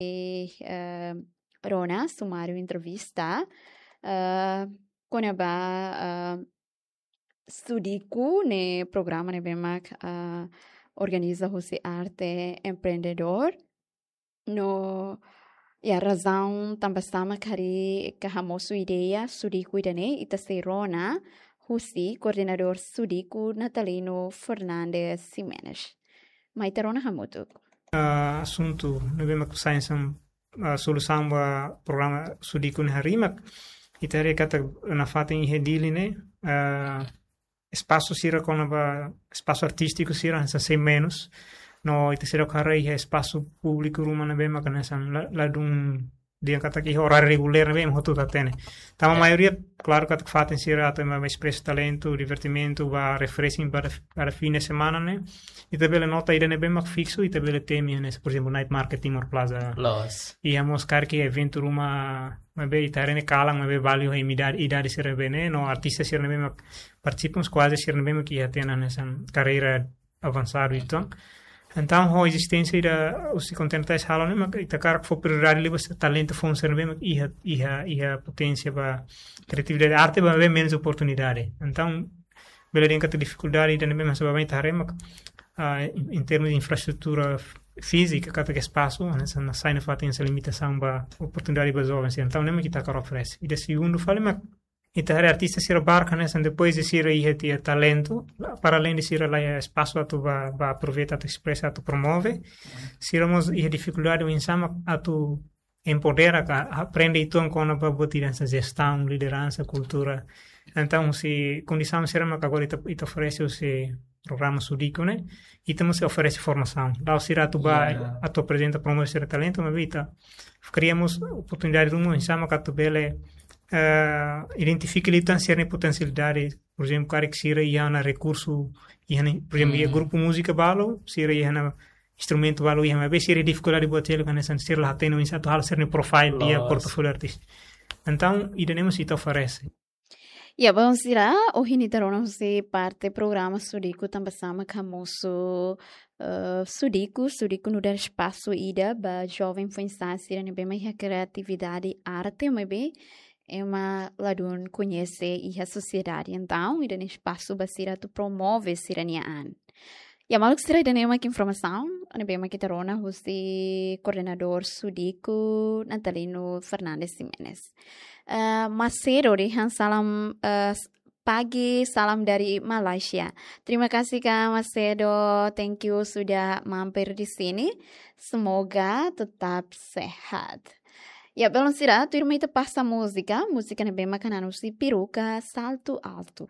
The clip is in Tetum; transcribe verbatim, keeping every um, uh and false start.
eh, rona sumáriu entrevista, eh, kona-ba, eh, Sudiku ne'e programa ne'ebé mak, eh, organiza husi Arte Empreendedór. No, iha razaun tanba sá mak harii ka hamosu ideia Sudiku ida-ne'e, ita sei rona husi koordenadór Sudiku, Natalino Fernandes Ximenes. Mai ita rona hamutuk. Ah, asuntu ne'ebé mak sai hanesan, ah, solusaun ba programa Sudiku ne'e harii mak ita haree katak nafatin iha Dili ne'e, ah, espasu sira kona-ba espasu artístiku sira hanesan sei menus. No ita seidauk haree iha espasu públiku ruma ne'ebé mak hanesan la, ladún dehan katak iha oráriu regulár ne'ebé mak hotu-hotu hatene. Tanba maioria, klaru katak fatin sira atu ema espresa talentu, divertimentu, ba refreshing ba, ba fim de semana ne'e. Ita bele nota ida ne'ebé mak fiksu, ita bele temi hanesan, por ezemplu, night market Timor Plaza. Loos. Iha mós karik eventu ruma, maibé ita haree ne'e kalan, maibé balu iha idade, idade sira ne'ebé ne'e, no artista sira ne'ebé mak partisipa mós kuaze sira ne'ebé mak iha tiha ona hanesan karreira avansadu uitoan. Entaun, ho ezisténsia ida husi Kontinentais halo ne'e mak ita hakarak fó prioridade liu ba talentu foun sira ne'ebé mak iha, iha, iha poténsia ba kriatividade, arte ba maibé menus oportunidade. Entaun, bele dehan katak difikuldade ida ne'ebé mak hanesan ba ita haree mak, ah, em, em termos de infraestrutura f-, fízika, katak espasu, hanesan nasaun ne'e fatin hanesan limitasaun ba oportunidade ba jovens. Entaun, ne'e mak ita hakarak oferese. Ida segundu fali mak ita haree artista sira barak hanesan depois de sira iha tiha talentu, la, para além de sira la iha espasu atu ba, ba aproveita, atu espresa, atu promove, sira mós iha difikuldade oinsá mak atu empodera ka aprende uitoan kona-ba buat ida hanesan jestaun, lideransa, kultura. Entaun, husi kondisaun sira mak agora ita, ita oferese husi programa Sudiku ne'e, ita mós oferese formasaun. La'ós sira atu ba, Ya. atu aprezenta, promove sira talentu, maibé ita kria mós oportunidade ruma oinsá mak atu bele, eh, identifika liután sira-nia potensialidade, por ezemplu, karik sira iha ona rekursu, iha ona, por ezemplu, iha Hmm. grupu múzika balu, sira iha ona instrumentu balu iha, maibé sira difikuldade buat hela, hanesan sira la hatene oinsá atu halo sira-nia profile iha Loos. portfólio artístiku. Entaun, ida-ne'e mós ita oferese. Ya, balu sira, ohin ita rona husi parte programa Sudiku tanba sá mak hamosu, eh, Sudiku, Sudiku nu'udar espasu ida ba joven foin-sa'e sira ne'ebé mak iha kriatividade arte, maibé ema ladún koñese iha sosiedade. Entaun, ida-ne'e espasu ba sira atu promove sira-nia an. Ya, maluk sira, ida-ne'e mak informasaun ne'ebé mak ita rona husi koordenadór Sudiku, Natalino Fernandes Ximenes. Eh, Macedo dehan salam, eh, s-, pagi, salam dari Malaysia. Terima kasih, Kak Macedo. Thank you sudah mampir di sini. Semoga tetap sehat. Ya, balu sira, tuirmai ita pasa múzika, múzika ne'ebé mak hanesan husi Peruca Salto Alto.